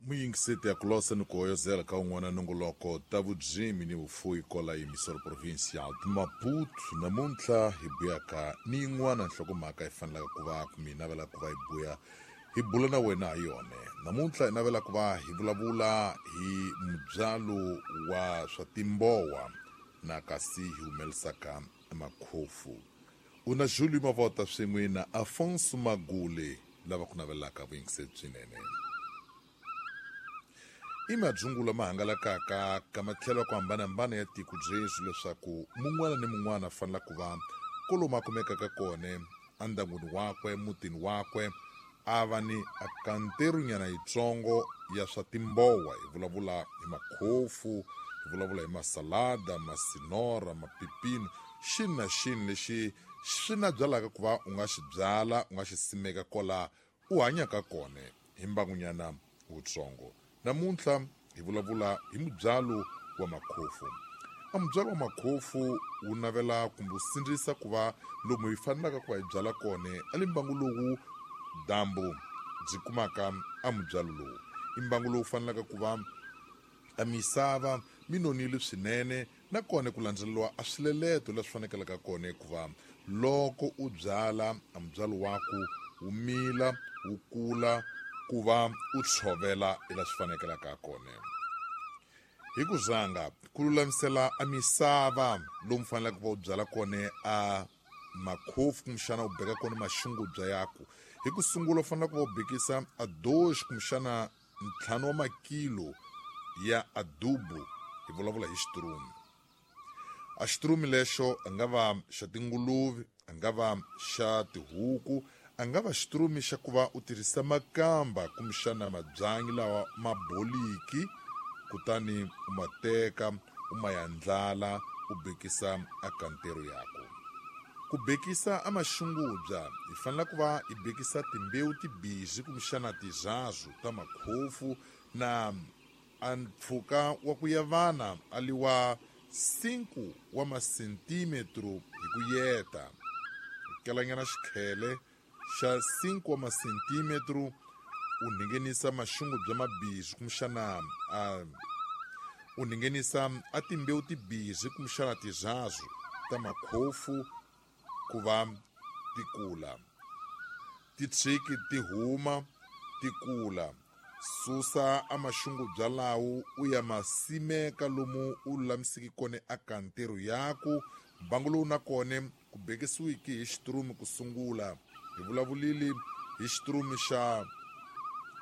Muyingiseti ya kulosa ni ku hoyozela ka un'wana nongoloko ta vudzimi ni vufuwi kola yimisoro provincial de Maputo. Namuntlha hi buyaka ni yin'wana nhlokomhaka hi fanelaka ku va kumbe hi navelaka ku va hi buya hi bula na wena ha yona. Namuntlha hi navela ku va hi vulavula hi mubyalo wa swa timbowa na kasi hi humelisaka makhofu. U na Julio Mavota swin'we na Afonso Magule lava ku navelaka vuyingiseri byinene. I madzungu lama hangalakaka ka matlhelo ya ku hambanahambana ya tiko byeswi leswaku mun'wana ni mun'wana a fanela ku va kolomu a kumekaka kona endyangwini wakwe, mutini wakwe, a va ni akanterunyana yitsongo ya swa timbowa. Hi vulavula hi makhofu, hi vulavula hi masalada, masinora, mapipino, xini na xini lexi xi na byalaka ku va u nga xi byala, u nga xi simeka kola u hanyaka kona hi mbangunyana wutsongo. Namuntlha hi vulavula hi mubyalo wa makhofu. A mubyalo wa makhofu wu navela kumbe wu sindzisa ku va lomu hi fanelaka ku va hi byala kona a le mbangu lowu dyambu byi kumaka a mubyalo lowu. I mbangu lowu fanelaka ku va a misava mi nonile swinene na kona ku landzeleriwa a swileleto leswi fanekelaka kona ku va loko u byala a mubyalo waku wu mila wu kula ku va u tshovela ila swi fanekelaka kona. Hi ku zanga ku lulamisela a misava lomu fanelaka ku va u byala kona a makhofu kumbexana u beka kona maxungubya yaku. Hi ku sungula u fanele ku va u bekisa a doxi kumbexana 5 wa makilo ya adubu, hi vulavula hi xitirumi. A xitirumi lexo a nga va xa tinguluve, a nga va xa tihuku, a nga va xitirumi xa ku va u tirhisa makamba kumbexana mabyanyi lawa ma boliki, kutani u ma teka u ma yandlala u bekisa a kantero yaku. Ku bekisa a maxungubya hi fanele ku va hi bekisa timbewu tibizi kumbexana tizazu ta makhofu na a mpfhuka wa ku yavana a liwa 5 wa masentimetro hi ku yeta. Hi kelanyana xikhele xa 5 wa masentimetro u nghenisa maxungubya mabizi kumbexana a u nghenisa a timbewu tibizi kumbexana tizazu ta makhofu ku va ti kula. Ti tshiki ti huma ti kula. Susa a maxungubya lawo u ya masimeka lomu u lulamiseke kona a kantero yaku. Mbangu lowu na kona ku bekisiwiki hi xitirumi ku sungula. Hi vulavulile hi xitirumi xa